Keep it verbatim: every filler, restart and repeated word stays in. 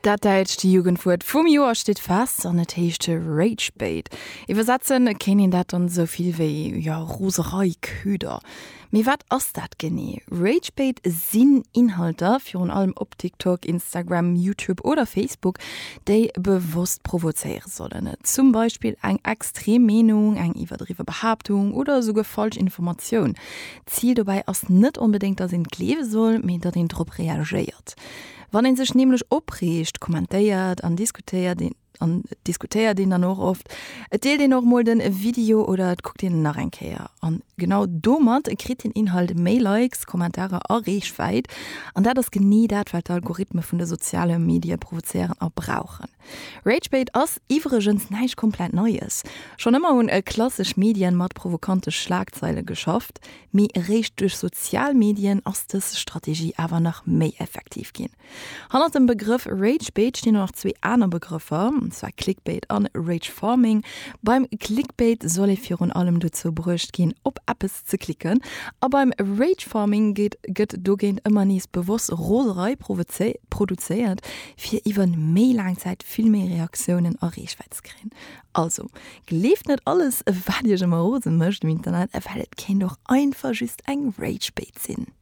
Dat däitscht Jugendwuert vum Joer steet fest an et heescht Ragebait. Iwwersetze kéint een dat dann esou vill wéi, jo, Roserei-Köder. Mee wat ass dat genee? Ragebait sinn Inhalter, virun allem op TikTok, Instagram, YouTube oder Facebook, déi bewosst provozéiere sollen. Zum Beispill eng extrem Meenung, eng iwwerdriwwe Behaaptung oder esouguer falsch Informatioun. D'Zil dobäi ass net onbedéngt, datt een et gleewe soll, mee datt een drop reagéiert. Wann een sech nämlech opreegt, kommentéiert an diskutéiert een an diskutéiert een dann och oft. Et deelt een och mol den Video oder et kuckt een en nach eng Kéier. An genau domat kritt den Inhalt méi Likes, Kommentarer a Reechwäit. An dat ass genee dat, wat d'Algorithme vun de soziale Medie provozéieren a brauchen. Ragebait ass iwwregens näischt komplett Neies. Schonn ëmmer hunn klassesch Medien mat provokante Schlagzeile geschafft, mee eréischt duerch sozial Medien ass dës Strategie awer nach méi effektiv ginn. Hannert dem Begrëff Ragebait stinn och nach zwee aner Begrëffer, an zwar Clickbait an Rage Farming. Beim Clickbait soll ee virun allem dozou bruecht ginn, op eppes ze klicken, a beim Rage Farming geet gëtt dogéint ëmmer nees bewosst Roserei produzéiert, fir iwwer méi laang Zäit vill méi Reaktiounen a Reechwäit ze kréien. Also, gleeft net alles, wat iech ëmmer rose mécht um Internet, well et kéint och einfach just eng Ragebait sinn.